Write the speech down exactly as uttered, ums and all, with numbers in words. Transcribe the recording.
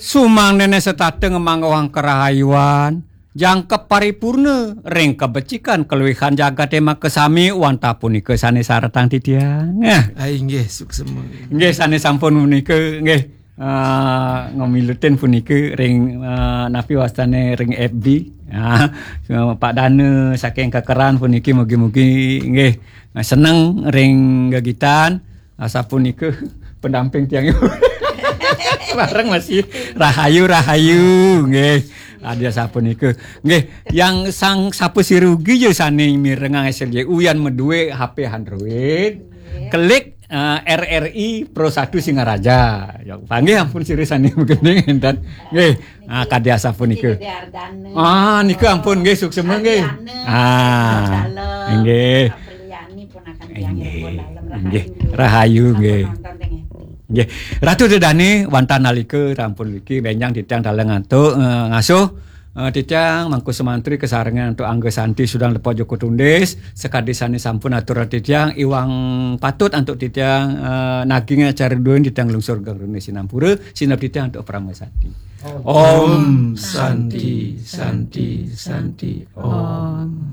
Sumangdene setata ngemanggohang karahayuan, jangkep paripurna ring kabecikan kaluihan jagate makasami wantah punika sane saretang titiang. Nah, ah, inggih, suksema. Inggih, sane sampun punika, nggih, eh, ngamilutin punika ring, eh, napi wastane ring F B. Ah, Pak Dana saking Kekeran puniki mugi-mugi nggih seneng ring gegitan. Asapunika pendamping tiang. Bareng masih rahayu, rahayu, nggih. Adi asapunika. Nggih, yang sang sapa sirugi ya sane mirengang S L J U yan madue H P Android. Klik, eh, R R I Pro satu Singaraja. Ya, panggih ampun sira sane magending enten. Nggih. Ah, kadi asapunika. Ah, nika ampun nggih, suksema nggih. Ah, nggih. Inggih. Rahayu nggih. Nggih. Ratu Dedane wantah nalika rampun niki benjang titiang taler ngantuk, eh, ngasuh, eh, titiang Mangku Sumantri kasarengan antuk Angga Santi Sudan Lepa Joko Tundis, sakadi sane sampun aturang titiang iwang patut antuk titiang, eh, naging acara duin titiang lungsur geng rene sinampura, sineb titiang antuk parama santi. Om Santi, Santi, Santi, Om.